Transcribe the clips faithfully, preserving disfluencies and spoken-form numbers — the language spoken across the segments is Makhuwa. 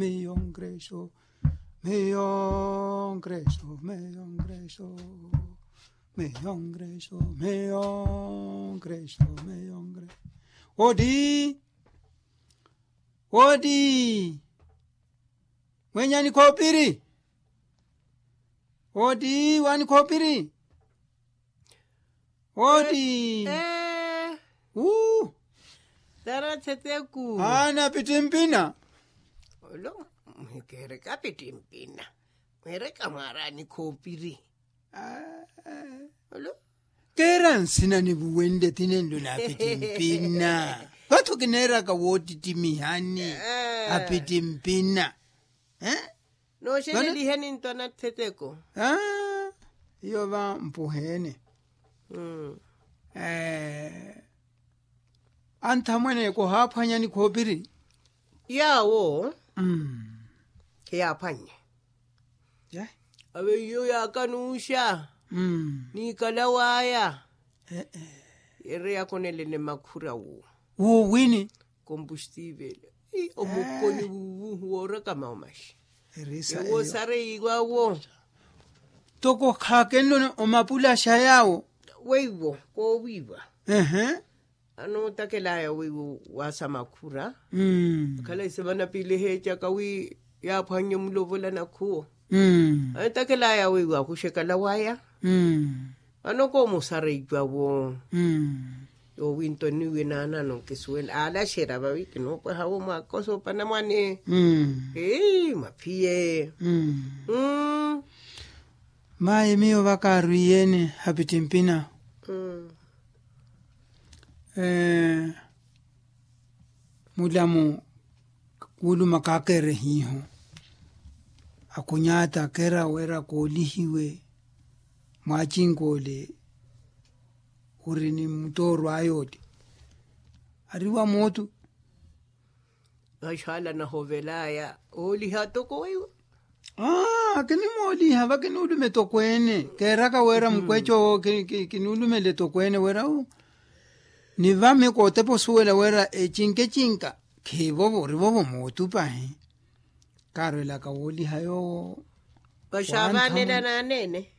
Miyongreso, miyongreso, miyongreso, miyongreso, miyongreso, miyongreso. Odi, odi. Mwenyani khopiri. Odi wani khopiri. Odi. Uu. Tara theteku. Ana pitimpina. Olo. Mwikereka pitimpina. Mwereka mwarani khopiri. Olo. Keera nsina nivuwenle tinenlo na pitimpina. Vathu kineeraka wootittimihani. Apitimpina. Nooxeleliheni ntwana theteko. Iyo va mpuheene. Anthamwene kohaaphwanyani khoopiri. Yaawo khiyaaphwannye. Ave iyo yaakanuuxa. Niikala waya. Yeereya konelene makhura wo. Wuuwini. Kompustiivele. Omukoni wuuwu woorakama omaxi. Ewo sareiwawo. Toko khaakenloni omapulaxa yaawo. Weiwo koowiiwa. Anootakelaya weiwo waasa makhura. Akhala isemana piili eheecaka wi yaaphwannye mulovola nakhuwo. Anootakelaya weiwo akuxekala waya. Vano koomusara icwawo. Yoowi-nto niwe naanano nkisuwela aalaxera vawi kinoopwaha wo mwaakosa opanamwane. Maphiye. Mayi miyo vakaarwiiyene hapittimpina. Mulamu kuuluma kaakerehiiho. Akhunyaata kera wira koolihiwe. Mwaacinkoole ori ni muttooro aya oti. Ari wa mootu. Vaxaala nahovelaya ooliha toko weiwo. Akinimooliha vakinuulume tokweene keeraka wira mukweca owo kinuulumele tokweene wira wu. Ni vami kootepa osuwela wira ecinkecinka khivovo orivovo mootupahi. Kaarwelaka wooliha yoowo. Vaxaavaanela naaneene.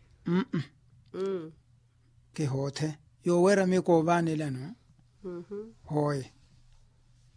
Kihoothe yoowerami koovaanelano. Hooye.